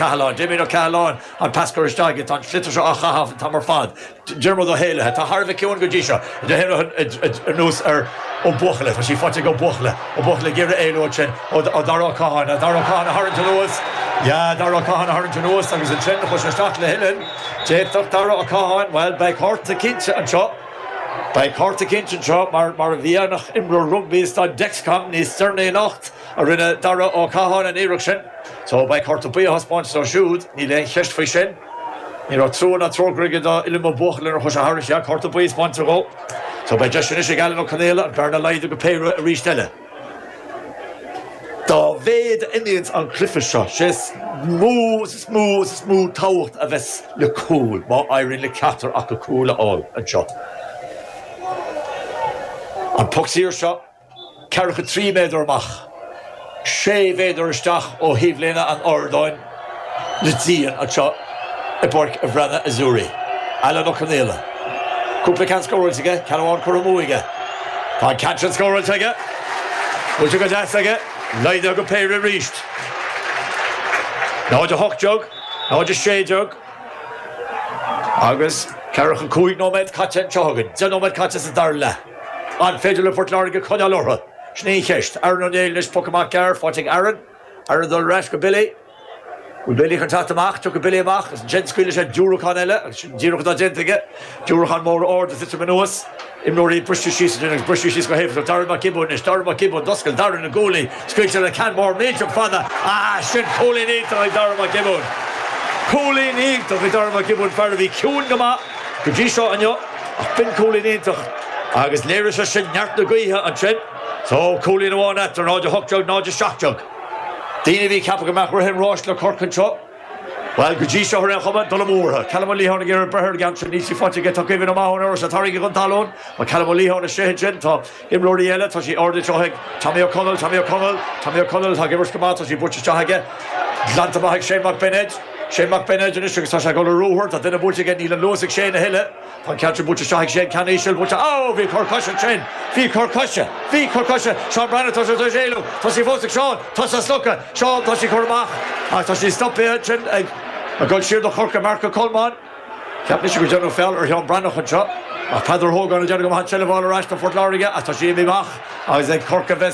Cathaláin, Damien Ó Cathaláin, an pas curtha isteach aige, tá an sliotar seo á chaitheamh an t-am ar fad. Diarmuid Ó hÉalaithe, tá thar a bheith ciúin go dtí seo, anuas ar Ó Buachalla, tá sí faighte ag Ó Buachalla, Ó Buachalla ag iarraidh éalú ansin ó Dara Ó Catháin, Dara Ó Catháin a tharraingt anuas, yeah, Dara Ó Catháin a tharraingt anuas agus ansin chuaigh sé isteach le huillinn, d'fhéadfadh Dara Ó Catháin, bhuel, beidh cárta cinnte anseo, beidh cárta cinnte anseo mar mar a bhí an imreoir rugbaí i staid Dexcom níos deireanaí anocht a rinne Dara Ó Catháin an iarracht sin. So, beidh cárta buí á thaispeáint dó siúd, níl aon cheist faoi sin. Ní raibh trua ná trócaire aige do Uilliam Ó Buachalla nuair a chuaigh sé thairis, yeah, cárta buí a thaispeáint dhó. So, beidh deis anois ag Alan Ó Conaola an bhearna a laghdú go péire arís eile. Dá mhéad a imíonns an cluiche seo, sé is mó is is mó is is mó tábhacht a bheas le cúl, má éiríonn le ceachtar acu cúl a fháil anseo. An poc saor seo. Ceathracha 3 méadar amach, 6 mhéadar isteach ó thaobhlíne an ardáin le díon anseo i bPáirc an Bhreathnaigh Azzurri. Alan Ó Conaola. Cúpla ceann scóráilte aige, ceann amháin curtha amú aige. Tá an ceann sin scóráilte aige. Buailte go deas aige. Laghdaithe go péire arís. 0 18, 0 16. Agus ceathracha 5 nóiméad caite anseo againn. 10 nóiméad caite sa dara leath. An féidir le Port Láirge coinneáil orthu? Sin í an cheist. Aaron Ó Néill anois, poc amach gearr, faighte ag Aaron. Aaron ag dul ar ais go Billy. Bhfuil Billy chun teacht amach? Tiocfaidh Billy amach agus ansin scaoilfidh sé diúracán eile agus sin díreach atá déanta aige. Diúracán mór ard ag titim anuas. Imreoirí briste síos ansin agus briste síos go héifeachtach. Darren Mac Giobúin anois. Darren Mac Giobúin, d'oscail Darren na guaillí. Scaoilte le ceann mór millteach fada. Ah, sin cúilín iontach ag Darren Mac Giobúin. Cúilín iontach ag Darren Mac Giobúin, fear a bhí ciúin go maith go dtí seo inniu. Ach b'in cúilín iontach agus léirigh sé sin neart na gaoithe ansin. So, cúilín amháin eatarthu, 0 18, 0 17. Daoine a bhí ag ceapadh go mbeadh rith an ráis le Corcaigh anseo, bhuel, go dtí seo ar aon chuma, dul amú orthu. Callum Ó Liatháin ag iarraidh breith ar an gceann sin, níl sí faighte aige, tá Caoimhín Ó Mathúna ar ais, tarraingthe chun talún, tá Callum Ó Liatháin istigh ansin, tá imreoirí eile, tá sí ardaithe anseo ag Tommy Ó Conaill, Tommy Ó Conaill, Tommy Ó Conaill atá ag imirt go maith, tá sí buailte isteach aige, glanta amach ag Shane Mac Beinéid. Shane Mac Beinéid anois agus tá sé ag dul ar ruathar, tá duine buailte aige, níl an luas ag Shane a thuilleadh. Tá an ceann sin buailte isteach ag Shane, ceann íseal buailte, oh! Bhí cor coise ansin! Bhí cor coise! Bhí cor coise! Seán Breathnach, tá sé tar éis éalú! Tá sí fós ag Seán! Tá sé slogtha! Seán, tá sí curtha amach ach tá sí stoptha ansin ag ag dul siar do Chorcaigh, Marc Ó Colmáin. Cheap mise gur déanadh feall ar Sheán Breathnach anseo ach Peadar Ó hÓgáin ag déanamh go maith an tseilbh a fháil ar ais do Phort Láirge ach tá sí imithe amach agus ag Corcaigh a bheas.